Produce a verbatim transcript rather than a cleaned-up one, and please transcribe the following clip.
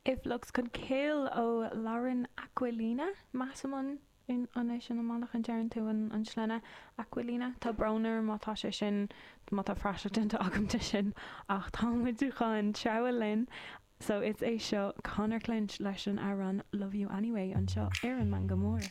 If Looks Could Kill ó Lauren Aquilina measaim an an é sin an bealach a ndeireann tú an an sloinne Aquilina Tá brón orm má tá sé sin má tá praiseach déanta agam de sin ach tá muid chun treabhadh linn so is é seo Conor Clinch leis an amhrán Love You Anyway anseo ar an Meangadh Mór.